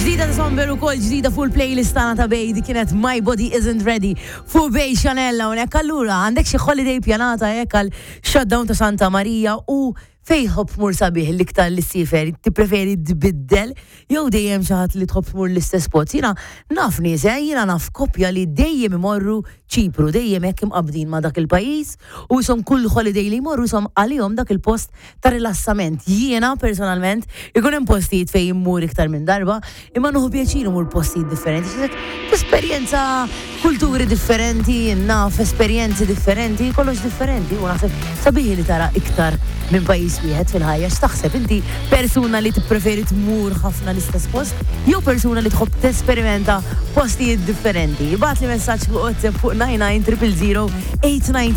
Ġdida ta' Somber u kol ġdida fuq il-playlist tagħna ta' Bay di kienet My Body Isn't Ready fuq Bay Chanel hawnhekk. Allura għandek xi holiday pjanata hekk għal shutdown ta' Santa Marija u fejn tħobb tmur sabiħ l-iktar li ssiefer, tippreferi tbiddel jew dejjem xi ħadd li tħobb tmur l-istess spot. Jiena naf nies, eh, jiena naf koppja li dejjem imorru Ċipru, dejjem hekk imqabbdin ma' dak il-pajjiż u ishom kull holiday li jmorru ishom għalihom dak il-post ta' rilassament. Jiena personalment ikun hemm postijiet fejn immur iktar minn darba, imma nieħu pjaċir immur postijiet differenti. X'isek tesperjenza kulturi differenti, naf esperjenzi differenti, kollox differenti u naħseb sabiħ li tara iktar minn pajjiż wieħed fil-ħajja. X'taħseb inti persuna li tippreferi tmur ħafna l-istess post jew persuna li tħobb tesperimenta postijiet differenti? Ibgħatli messaġġ fuq WhatsApp fuq 99 000 890.